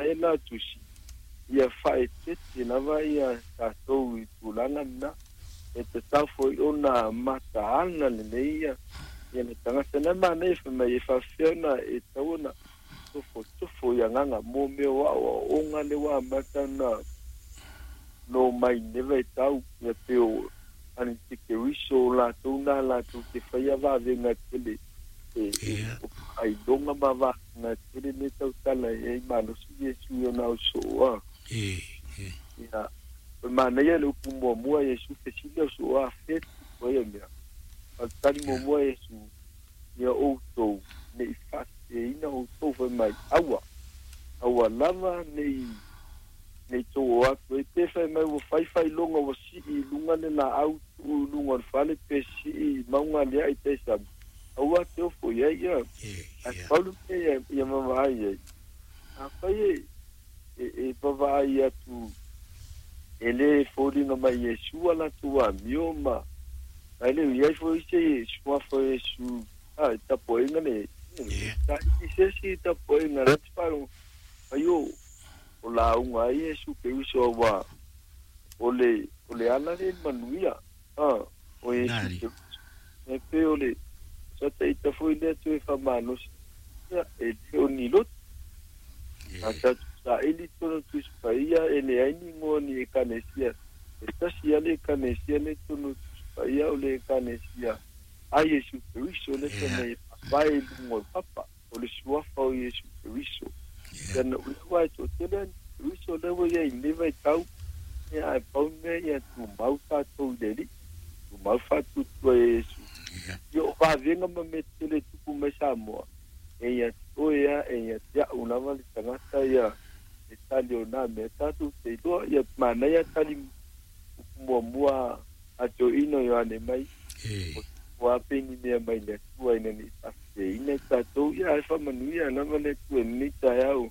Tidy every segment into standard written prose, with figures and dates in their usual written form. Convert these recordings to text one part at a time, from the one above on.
ae la tusi ia faaeteete lava ia tatou i tulaga lena e tatau foi ona mataala lelei ia ia le tagata na manaia fai mai e faafefea ona e tatau ona tofotofo i agaga mo mea o aoaoga lea ua amata ona no mai nei vaitau ia pei o antikeriso o latou na latou te faia vavega tele e ailoga ma vaega tele le tautala e ai malosi Iesu i ona ausoo a. Ia, o le manaia le upu muamua Iesu fesili ausoo a fe tupu ai ia mea. A o le tali muamua Iesu, ia outou ne i faaseseina outou fai mai, aua, aua lava ne i ne i tou o atu ai pe fai mai ua fai failoga ua sii i luga le laau tuu i luga o le fale pe sii i mauga aliae i tai sami, aua te ofo i ai ia. Ae pau le mea ia vaavaai ai, afai e e vaavaai atu e le foliga mai Iesu a latou amio ma ae le o i ai foi se suafa o Iesu a i tapuaiga nei. Taiti se isi i tapuaiga la te faalogo mai o o lauga ai Iesu Keriso aua o le o le ala lea i le manuia a o Iesu Keriso. E pei o le sa taita foi lea toe faamalosi ia e le o ni lotu. A tatou saili i totonu o Tusi Paia e leai ni igoa o ni ekalesia. E tasi lava le ekalesia lea i totonu o Tusi Paia o le ekalesia a Iesu Keriso lea fai mai e faavae i luga o le papa o le suafa o Iesu Keriso. Ia na ua aua e toatele a Keriso lea ua i ai i lenei vaitau, ia ae pau le mea ia tumau tatou i le Alii, tumau faatuatua ia Iesu. Ia o vavega ma mea tetele e tupu mai Samoa, e ia te oe a e ia te a'u lava le tagata ia e tali o na mea tatou te iloa ia manaia tali upu muamua a toeaina o Ioane mai o a pe ni mea mai le Atua ina ne i faaseseina i tatou ia ae faamanuia lava le Atua i lenei taeao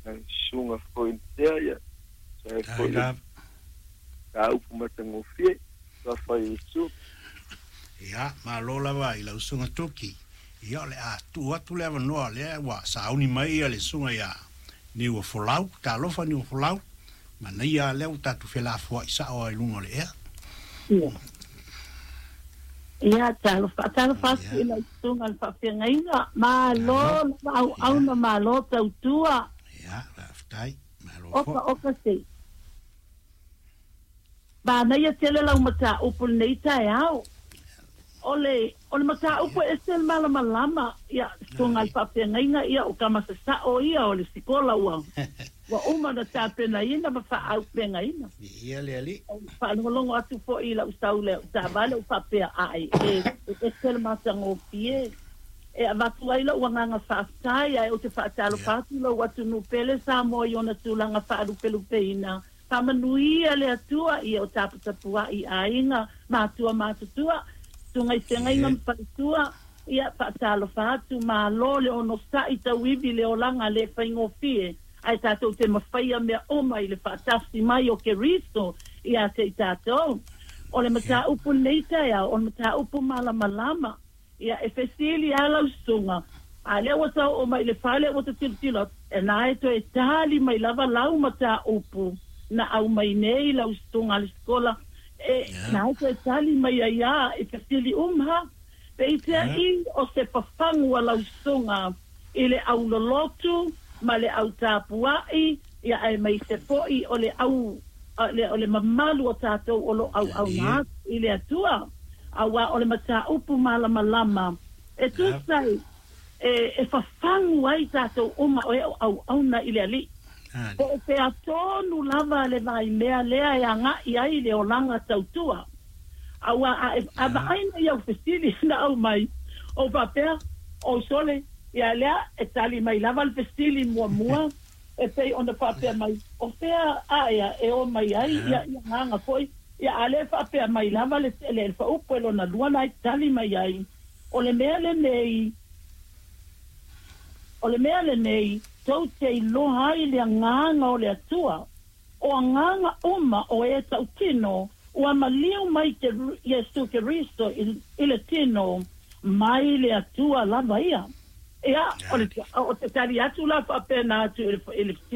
na susuga foi i tea ia sa foi le mataupu matagofie Suafa Iesu. Ia, malo lava i lau susuga Toki. Ia, o le a tuu atu le avanoa lea ua sauni mai ia le susuga ia Niuafolau. Talofa Niuafolau, manaia lea ua tatou felafoai sao lava i luga o le ea. Ia. Ia, talofa, talofa atu i lau susuga i le faafeagaiga. Malo lava auauna, malo tautua. Ia, faafetai. Malo foi. Oka, oka se. Manaia tele lau mataupu i lenei taeao. O le, o le mataupu e ese le malamalama, ia, susuga i le faafeagaiga, ia, o tama sasao ia o le sikola ua, ua uma ona tapenaina ma faaaupegaina. Viia le Alii. Faalogologo atu foi i lau sau i lau taavale ou faapea, Ai, e, e ese le matagofie. E avatu ai lou agaga faafetai, ae ou te faatalofa atu i lou atunuu pele Samoa i ona tulaga faalupelupeina. Faamanuia le Atua ia o taputapuai aiga, matua matutua, susuga i feagaiga ma faletua, ia faatalofa atu, malo le onosai tauivi le olaga le faigofie, ae tatou te mafaia mea uma i le faatasi mai o Keriso ia te i tatou. O le mataupu lenei taeao, o le mataupu malamalama. Ia, e fesili lava lau susuga, a lea ua ta oo mai i le fale ua ta tilotilo atu, e na e toe tali mai lava lau mataupu na aumai nei lau susuga a le sikola, e na e toe tali mai ai a i fesili uma ha. Peiseai o se fafagu a lau susuga i le au lolotu ma le au tapuai, ia aemaise foi o le au o le mamalu o tatou o lo o auauna atu i le Atua, aua o le mataupu malamalama e tusa ai e fafagu ai tatou uma o e o auauna i le Alii. Po o fea tonu lava le vaimea lea e agai ai le olaga tautua. Aua a vaai nei au fesili na aumai, ou faapea, Oi sole, ia lea e tali mai lava le fesili muamua e pei ona faapea mai, o fea aea e o mai ai ia ia agaga foi, ia a le faapea mai lava le le faaupu e lona lua la e tali mai ai, o le mea lenei, o le mea lenei, tou te iloa ai le agaga o le Atua, o agaga uma o e tautino ua maliu mai te Iesu Keriso i le tino, mai le Atua lava ia. Ia, o le, o te tali atu la faapena atu i le, i le.